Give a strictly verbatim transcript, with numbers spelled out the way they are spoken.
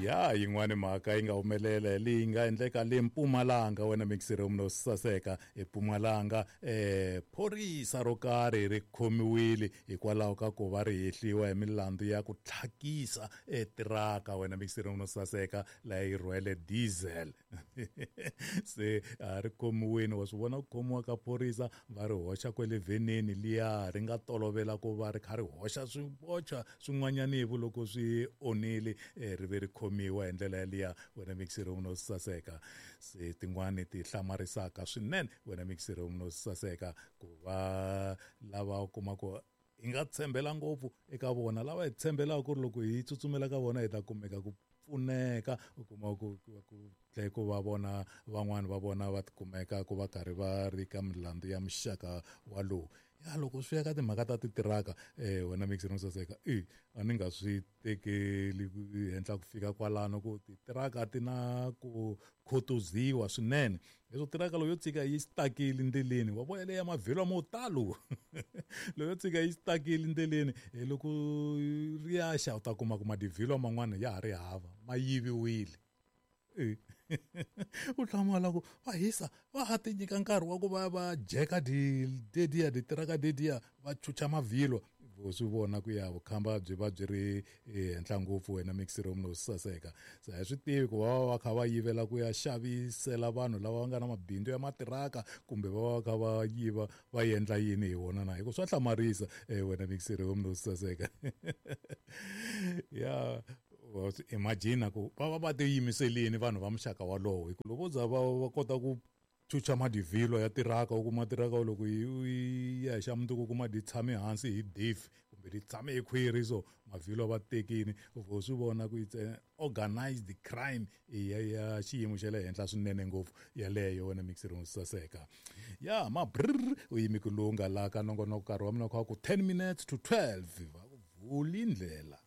Ya yin'wani mhaka yi nga humelela leyi nga endleka le Mpumalanga wena mixere munhu saseka eMpumalanga eh phorisa ro karhi ri khomiwile hikwalaho ka ku va ri hehliwa hi milandzu ya ku tlhakisa etiraka wena mixere munhu saseka laha yi rhwele diesel se a ri khomiwile wa swi vona ku khomiwa ka phorisa va ri hoxa kwele veneni liya ri nga tolovela ku va ri kha ri hoxa swibocha swin'wanyanivu loko swi onile ri ve ri khomiwa hi ndlela yaliya wena mixere munhu saseka se tin'wani ti hlamarisaka swinene wena mixere munhu saseka ku va lava u kuma ku hi nga tshembela ngopfu eka vona lava hi tshembelaka ku ri loko hi tsutsumela ka vona hi ta kumeka ku pfuneka u kuma ku ku tlhe ku va vona van'wani va vona va tikumeka ku va karhi va ri ka milandzu ya muxaka walowu ya loko swi ya ka timhaka ta titiraka eh wena mixere munhu saseka e a ni nga swi tekeli henhla ku fika kwalano ku titiraka ti na ku khutuziwa swinene leswo tiraka loyo tshika yi stakile ndleleni wa vona leya mavhilwa mo talo loyo tshika yi stakile ndleleni hi loko ri ya xa u ta kuma ku madivhilwa man'wana ya ha ri hava ma yiviwile u hlamala ku va hisa va ha ti nyika nkarhi wa ku va va jeka dediya titiraka dediya va chucha mavhilwa vo swi vona ku ya vukhamba byi va byi ri henhla ngopfu wena mixere munhu saseka se a hi swi tivi ku va va va kha va yivela ku ya xavisela vanhu lava va nga na mabindzu ya matiraka kumbe va va kha va yiva va endla yini hi wona na hikuva swa hlamarisa wena mixere munhu saseka ya imagine ku va va va tiyimiselini vanhu va muxaka walowo hi ku loko vo za va va kota ku chucha madivhilwa ya tiraka u kuma tiraka loko yi ya hi xa mundzuku u kuma di tshame hansi hi diff kumbe di tshame hi khwiri so mavhilwa va tekini u swi vona ku it's organized crime ya ya xiyimo xa le henhla swinene ngopfu yaleyo wena mixere saseka ya ma brr u yimi ku lunga la ka nongonoko nkarhi wa mina kha ku ten minutes to twelve va ku vuli ndlela.